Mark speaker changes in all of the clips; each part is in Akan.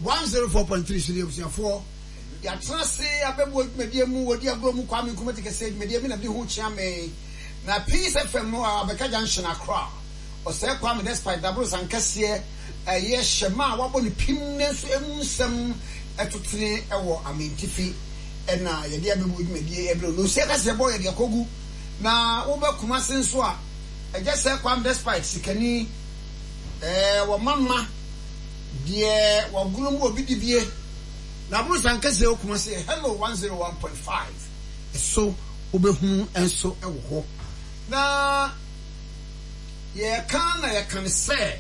Speaker 1: 104.3 so deɛ abusuafoɔ yɛatena ase abɛboa dwumadie mu wɔdi agorɔ mu Kwame Nkrumah ti kɛseɛ dwumadie me na mede ho kyea me na Peace FM no a abɛka junction Accra Ɔsɛe Kwame despite daborosan kɛseɛ ɛyɛ hyɛma a wabɔ no pim nanso emu nsɛm ɛtotene wɔ Amantifi ɛna yɛde abɛbuo dwumadie ɛbrɛ wo na osia kaseɛ bɔ yɛde akɔgu na wobɛ Kumase nso a ɛgyɛ sɛ Kwame despite sikani ɛɛ wɔma mma deɛ wɔgoro mu obi dibie na aborosan kɛseɛ wɔ Kumase Hello 101.5 ɛso wobɛhunu nso wɔ hɔ na Yɛreka na yɛka no sɛ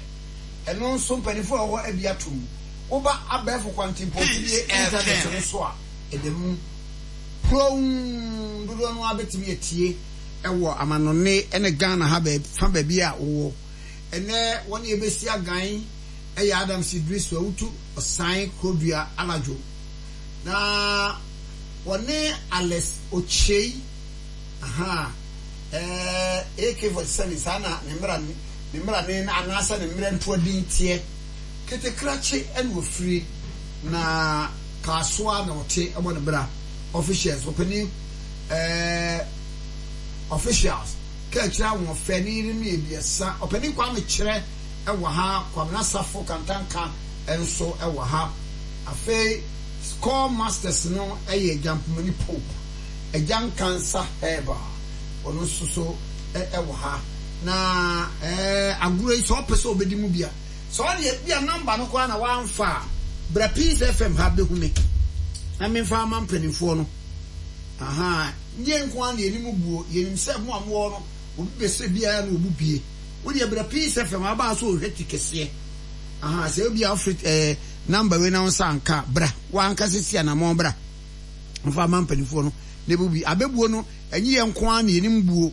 Speaker 1: ɛno nso mpanyinfoɔ a ɛwɔ hɔ abi atom. Woba abɛɛfo kwantempɔn fidie internet no so a, ɛda mu puroon. Dodoɔ no ara bɛtumi atie wɔ amanɔne ne Ghana ha fa baabi a wowɔ. Ɛnnɛ wɔne yɛbɛsi agan yɛ Adams Iddrisu Awutu Ɔsan Kurodua Anadwo. Na wɔne Alex Okyei. Ahaa, ɛɛ, AK-47, saa na ne mmara, ne mmarane anaasɛ ne mmerɛntoa din teɛ. Ketekrakye na ɔfiri, na Kasoa na ɔte bɔ ne bra. Officials, ɔpanin, ɛɛ, officials, kaakyire ahoɔfɛ, ne yerenom yɛ abiɛsa. Ɔpanin Kwame Kyerɛ wɔ ha, Kwabena Safo Kantanka nso wɔ ha. Afei, Score Masters no yɛ Gyampomani Pope. Agya Nkansah Herbal, ɔno nso so wɔ ha. Na agorɔ yi, sɛ ɔpɛ sɛ ɔbɛdi mu bi a, sɛ ɔde ebi a nɔmba no koraa na wamfa a, bra Peace FM ha bɛhu me na memfa ama mpanimfoɔ no. Aha, nyɛ nko ara na yɛnim buo, yɛnim sɛ mo a mowɔ no, obi bɛsɛ biara na ɔbu bie. Wo deɛ bra Peace FM aba so ɔhwɛ ti kɛseɛ. Aha, sɛ obi a wofiri nɔmba wei na wo nsa anka, bra, wankasa si anamɔn bra. Mfa ma mpanimfoɔ no na ɛbɛbu bi. Abɛbuo no, ɛnyɛ yɛn nko ara na yɛnim buo.